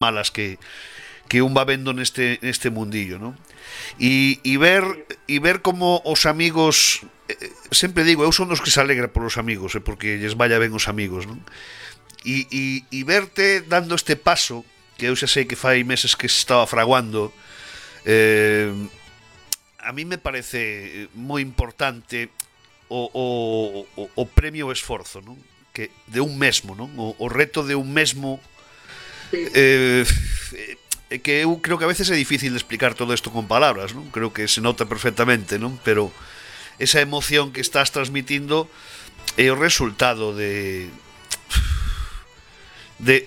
malas que un va vendo neste mundillo, ¿no? E ver como os amigos, sempre digo, eu son dos que se alegra polos amigos, porque lles vaya ben os amigos, non? E verte dando este paso, que eu xa sei que fai meses que se estaba fraguando, eh, a mí me parece moi importante o premio ao esforzo, non? Que de un mesmo, non? O reto de un mesmo, Sí. que eu creo que a veces é difícil de explicar todo isto con palabras, non? Creo que se nota perfectamente, non? Pero esa emoción que estás transmitindo é o resultado de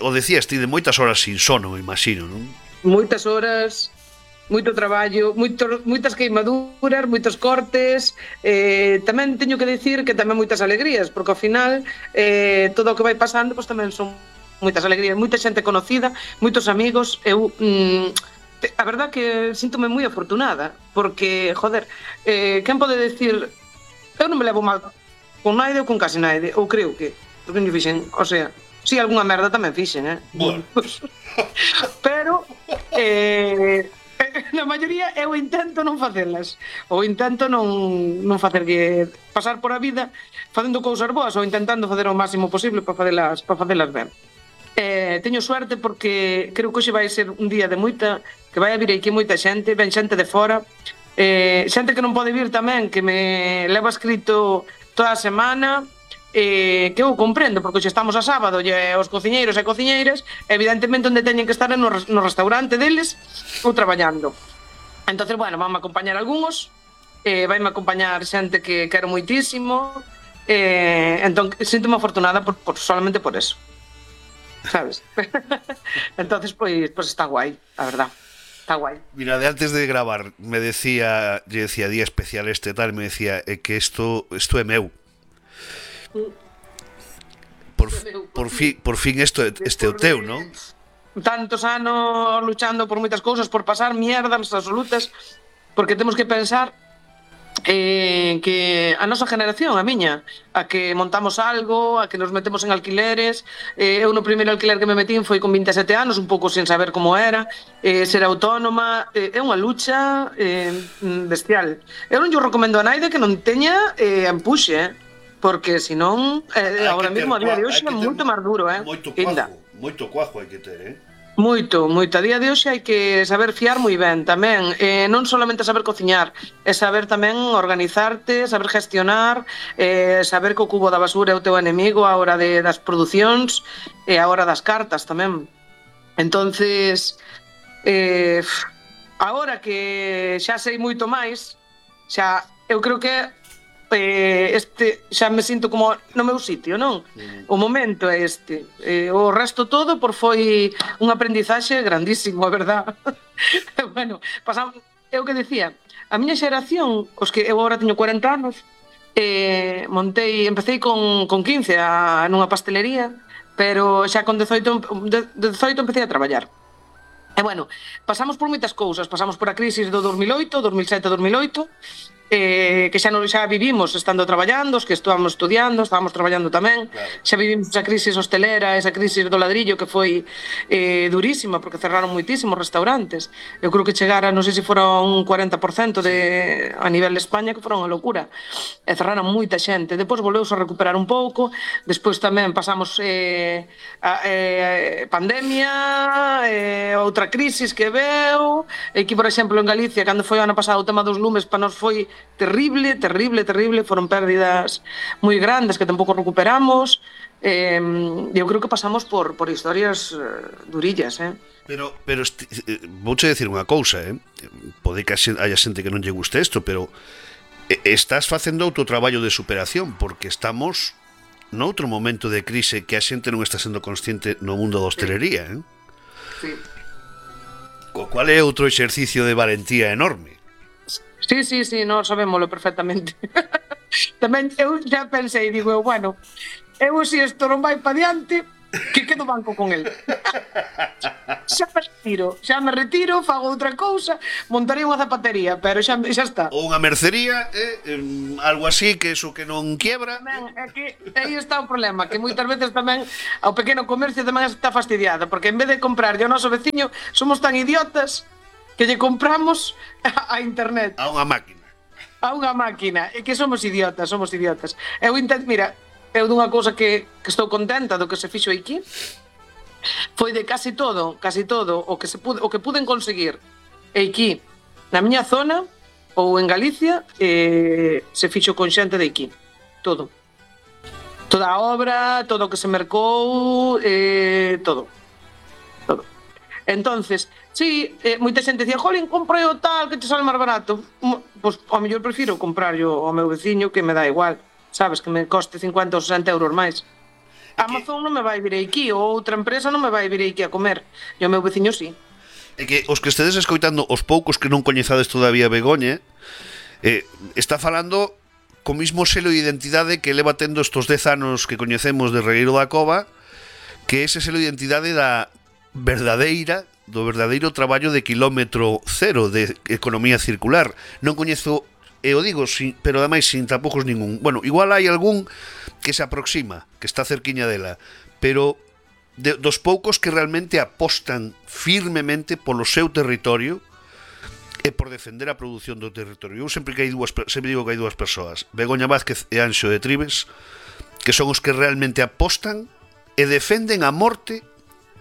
o decías ti, de moitas horas sin sono, me imagino, non? Moitas horas, moito traballo, moitas queimaduras, moitos cortes. Tamén teño que dicir que tamén moitas alegrías, porque ao final todo o que vai pasando pois tamén son moitas alegrías, moita xente conocida, moitos amigos. A verdad que síntome moi afortunada, porque, joder, quen pode decir, eu non me levo mal con naide ou con case naide, ou creo que, porque non fixen, o sea, si algunha merda tamén fixen, Bueno. pero na maioría eu intento non facelas, ou intento non facerlle pasar por a vida facendo cousas boas, ou intentando facer o máximo posible para facelas ben. Teño suerte porque creo que hoxe vai ser un día de moita, que vai a vir aquí moita xente, ven xente de fora, xente que non pode vir tamén, que me leva escrito toda a semana, que eu comprendo, porque hoxe estamos a sábado e os cociñeiros e cociñeiras evidentemente onde teñen que estar é no restaurante deles ou traballando. Entonces, bueno, vanme acompañar algúns, vaime acompañar xente que quero moitísimo, entón sinto-me afortunada solamente por eso, sabes? Entonces, pois está guai, a verdad. Está guai. Mira, de antes de gravar me decía, lle decía día especial este tal, me decía que isto é meu. Por fin este é o teu, non? Tantos anos luchando por moitas cousas, por pasar mierdas absolutas, porque temos que pensar que a nosa generación, a miña, a que montamos algo, a que nos metemos en alquileres. Eu no primeiro alquiler que me metín foi con 27 anos, un pouco sen saber como era, ser autónoma. É unha lucha bestial. Eu non yo recomendo a naide que non teña empuxe, porque senón agora mesmo a día de hoxe é moito máis duro, moito cuajo hai que ter, Moito. A día de hoxe hai que saber fiar moi ben tamén, non solamente saber cociñar, é saber tamén organizarte, saber gestionar, saber que o cubo da basura é o teu enemigo a hora das producións e a hora das cartas tamén. Entonces, agora que xa sei moito máis, xa eu creo que xa me sinto como no meu sitio, non? O momento é este. O resto todo foi un aprendizaxe grandísimo, a verdad. Bueno, pasamos, eu que decía, a miña xeración, os que eu agora teño 40 anos, empecé con 15 nunha pastelería, pero xa con 18 empecé a traballar. E bueno, pasamos por moitas cousas, pasamos por a crisis do 2008, 2007-2008, que xa vivimos estando traballando, os que estábamos estudiando, estábamos traballando tamén, claro. Xa vivimos esa crisis hostelera, esa crisis do ladrillo que foi durísima, porque cerraron moitísimos restaurantes. Eu creo que chegara, non sei se fora un 40% a nivel de España, que fora unha locura. E cerraron moita xente. Depois volveuse a recuperar un pouco, despois tamén pasamos pandemia, outra crisis que veu, e aquí, por exemplo, en Galicia, cando foi o ano pasado o tema dos lumes, para nós foi terrible, foron pérdidas moi grandes que tampouco recuperamos. Eu creo que pasamos por historias durillas, Pero vouche decir unha cousa, pode que haya xente que non lle guste isto, pero estás facendo outro traballo de superación, porque estamos noutro momento de crise que a xente non está sendo consciente no mundo da hostelería, Sí. Co cual é outro exercicio de valentía enorme. Sí, nós sabémoslo perfectamente. Tamén eu xa pensei, digo, bueno, eu se isto non vai pa diante, que quedo banco con el. retiro, fago outra cousa, montaría unha zapatería, pero xa está. Ou unha mercería, algo así, que eso que non quiebra. Tamén, é que aí está o problema, que moitas veces tamén ao pequeno comercio tamén está fastidiada, porque en vez de comprar ao noso veciño, somos tan idiotas que lle compramos a internet. A unha máquina. A unha máquina, e que somos idiotas. Eu intento, mira, eu dunha cousa que estou contenta do que se fixo aquí, foi de casi todo o que puden conseguir aquí na miña zona ou en Galicia, se fixo con xente de aquí, todo, toda a obra, todo o que se mercou, todo. Entonces, sí, moita xente dicía, jolín, comprei o tal que te sale máis barato. Pois ao mellor prefiro comprar ao meu veciño, que me dá igual, sabes, que me coste 50 ou 60 euros máis. Amazon non me vai vir aquí, ou outra empresa non me vai vir aquí a comer, e o meu veciño sí. É que os que estedes escoitando, os poucos que non coñezades todavía Begoña, está falando co mismo selo de identidade que leva tendo estos 10 anos que coñecemos de Regueiro da Cova, que ese selo de identidade do verdadeiro traballo de kilómetro cero, de economía circular. Non coñezo, e o digo, pero ademais sin tampoucos ningún. Bueno, igual hai algún que se aproxima, que está cerquiña dela, pero dos poucos que realmente apostan firmemente polo seu territorio e por defender a produción do territorio. Eu sempre digo que hai dúas persoas, Begoña Vázquez e Anxo de Tribes, que son os que realmente apostan e defenden a morte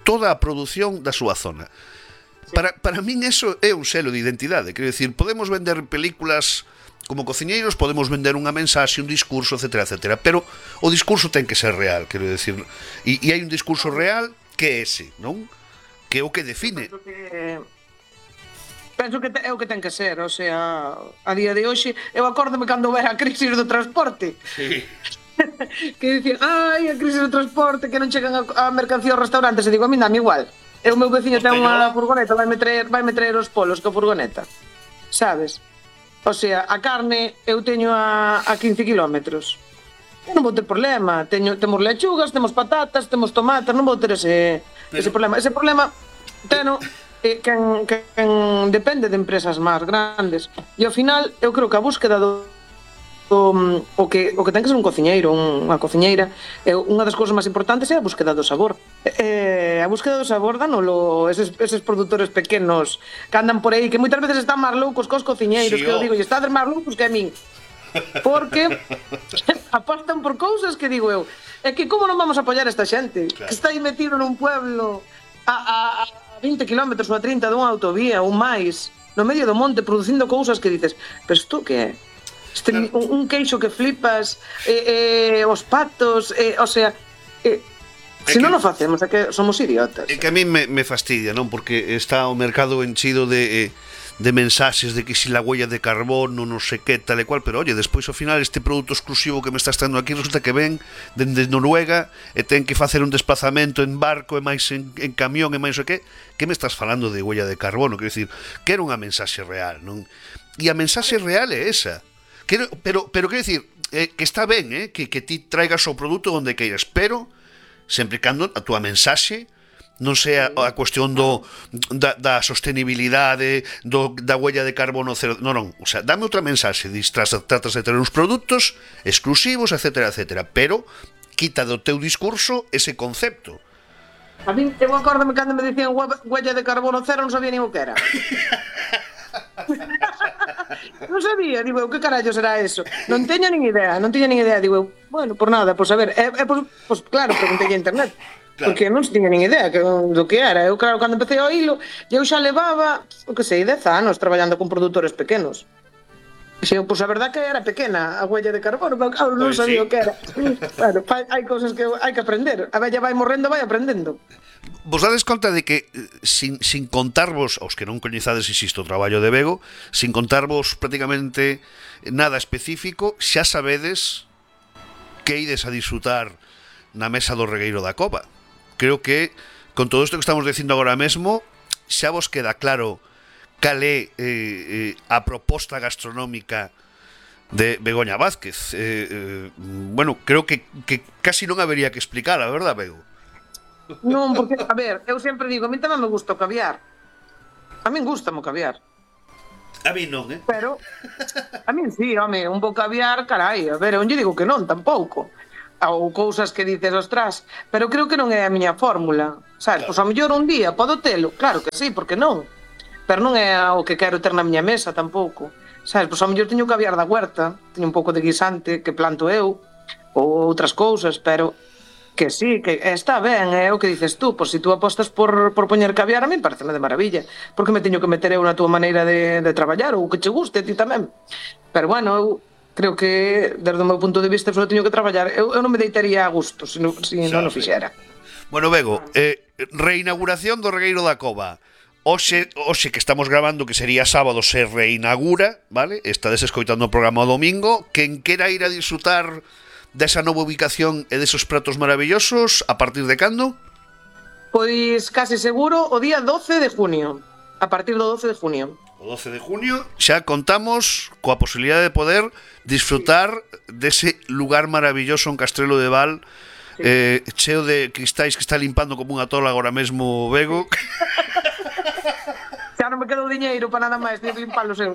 toda a produción da súa zona. Para min eso é un selo de identidade. Quero dicir, podemos vender películas como cociñeiros, podemos vender unha mensaxe, un discurso, etcétera, etcétera, pero o discurso ten que ser real, quero dicir, e hai un discurso real que é ese, non? Que é o que define. Penso que é o que ten que ser, o sea, a día de hoxe, eu acórdome cando era a crise do transporte. Sí. Que dicían, ai, a crise do transporte, que non chegan a mercancía aos restaurantes, e digo, a mí dame igual. E o meu veciño ten unha furgoneta, vai me traer os polos co furgoneta, sabes? O sea, a carne eu teño a 15 kilómetros. Eu non vou ter problema. Temos lechugas, temos patatas, temos tomates, non vou ter ese problema. Ese problema teno quen depende de empresas máis grandes. E ao final, eu creo que a búsqueda o que ten que ser un cociñeiro, unha cociñeira, unha das cousas máis importantes é a búsqueda do sabor. A búsqueda do sabor danolo eses produtores pequenos que andan por aí, que moitas veces están máis loucos cos cociñeiros, sí, que eu digo, e estades máis loucos que a min. Porque apostan por cousas que digo eu, é que como non vamos a apoiar esta xente, claro, que está aí metido nun pueblo a 20 km ou a 30 dunha autovía ou máis, no medio do monte, producindo cousas que dices, pero isto que é? Claro. Un queixo que flipas, os patos, o sea, se non o facemos, é que somos idiotas. É que a mí me fastidia, non? Porque está o mercado enchido de mensaxes de que si la huella de carbono, non sei que, tal e cual, pero oye, despois ao final este produto exclusivo que me estás tendo aquí resulta que ven dende Noruega e ten que facer un desplazamento en barco e máis en camión e máis o que me estás falando de huella de carbono? Quero dicir, que era unha mensaxe real, non? E a mensaxe real é esa. Pero quero dicir, que está ben, que ti traigas o produto onde queiras, pero sempre e cando a túa mensaxe non sea a cuestión da sostenibilidade, da huella de carbono cero. Non, o sea, dame outra mensaxe, tratas de ter uns produtos exclusivos, etcétera, etcétera, pero quita do teu discurso ese concepto. A mí, eu acórdame cando me dicían huella de carbono cero, non sabía nin o que era. Non sabía, digo, que carallo será eso? Non teño nin idea, digo, bueno, por nada, pois a ver, pois claro, preguntei a internet, claro, porque non se tiña nin idea do que era. Eu, claro, cando empecé a oílo, eu xa levaba, o que sei, 10 anos traballando con produtores pequenos. Pois a verdad que era pequena a huella de carbono, pero claro, non sabía o que era. Claro, hai cousas que hai que aprender. A vella vai morrendo, vai aprendendo. Vos dades conta de que sin contarvos, aos que non coñezades, insisto, o traballo de Bego, sin contarvos prácticamente nada específico, xa sabedes que ides a disfrutar na mesa do Regueiro da Cova. Creo que con todo isto que estamos dicindo agora mesmo, xa vos queda claro cal é a proposta gastronómica de Begoña Vázquez. Bueno, creo que casi non habería que explicar, a verdad, Bego? Non, porque, a ver, eu sempre digo, a mí tamén me gusta o caviar, A min gusta o caviar. A mí non, Pero, a min sí, home, un bo caviar, carai, a ver, eu non lle digo que non, tampouco. Ou cousas que dices, ostras, pero creo que non é a miña fórmula, sabes? Pois a mellor un día podo telo, claro que sí, porque non? Pero non é o que quero ter na miña mesa tampouco, sabes? Pois a mellor teño caviar da huerta, teño un pouco de guisante que planto eu, ou outras cousas, pero que sí, que está ben, é o que dices tú, pois se tú apostas por poñer caviar, a mí pareceme de maravilla, porque me teño que meter eu na túa maneira de traballar, ou que che guste a ti tamén. Pero bueno, eu creo que, desde o meu punto de vista, só teño que traballar. Eu non me deitaría a gusto se non o fixera. Bueno, Bego, reinauguración do Regueiro da Cova. Hoxe que estamos grabando, que sería sábado, se reinaugura, vale? Estades escoitando o programa o domingo. Quen quera ir a disfrutar desa nova ubicación e desos pratos maravillosos, a partir de cando? Pois case seguro o día 12 de junio. A partir do 12 de junio. O 12 de junio xa contamos coa posibilidade de poder disfrutar dese lugar maravilloso en Castrelo de Val, cheo de cristais que está limpando como unha tola agora mesmo Bego. Xa non me quedou diñeiro para nada máis, ni limpar o seu.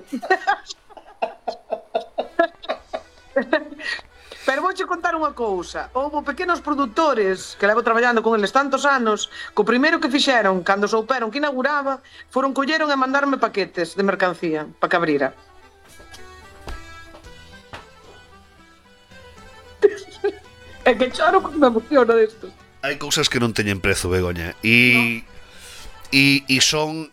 Pero vouche contar unha cousa. Houve pequenos produtores que levo traballando con eles tantos anos, co primeiro que fixeron, cando souperon que inauguraba, foron colleron e mandarme paquetes de mercancía para que abrira. É que choro porque me emociona desto. Hai cousas que non teñen prezo, Begoña. E son...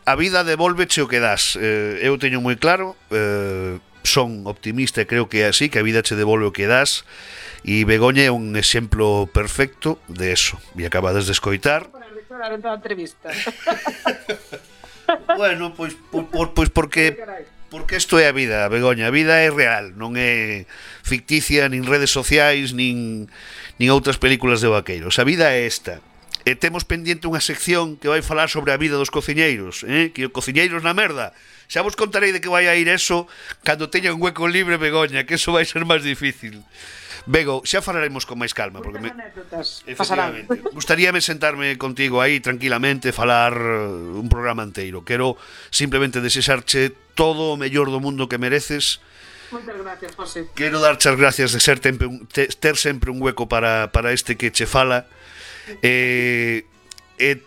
a vida devolveche o que das. Eu teño moi claro... son optimista e creo que é así, que a vida che devolve o que das, e Begoña é un exemplo perfecto de eso. E acabades de escoitar. Bueno, pois porque isto é a vida, Begoña. A vida é real, non é ficticia, nin redes sociais, nin outras películas de vaqueiros. A vida é esta. E temos pendiente unha sección que vai falar sobre a vida dos cociñeiros, que cociñeiros na merda. Xa vos contarei de que vai a ir eso cando teña un hueco libre, Begoña, que eso vai ser máis difícil. Bego, xa falaremos con máis calma, porque efectivamente, gustaríame sentarme contigo aí tranquilamente, falar un programa inteiro. Quero simplemente desexarche todo o mellor do mundo que mereces. Moitas gracias, José. Quero darche as gracias de ser ter sempre un hueco para este que che fala.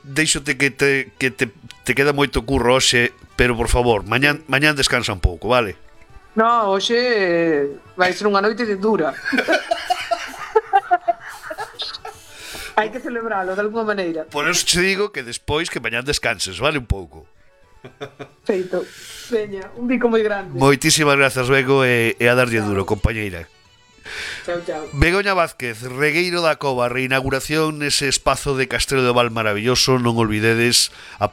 Deixote que te queda moito curro hoxe, pero por favor, mañán descansa un pouco, vale? No, hoxe vai ser unha noite de dura. Hai que celebralo de alguma maneira. Por eso te digo que despois que mañán descanses, vale, un pouco. Feito. Veña, un bico moi grande. Moitísimas grazas, Bego, e a darlle duro, compañeira. Chao, chao. Begoña Vázquez, Regueiro da Cova, reinauguración nese espazo de Castrelo de Val maravilloso, non olvidedes a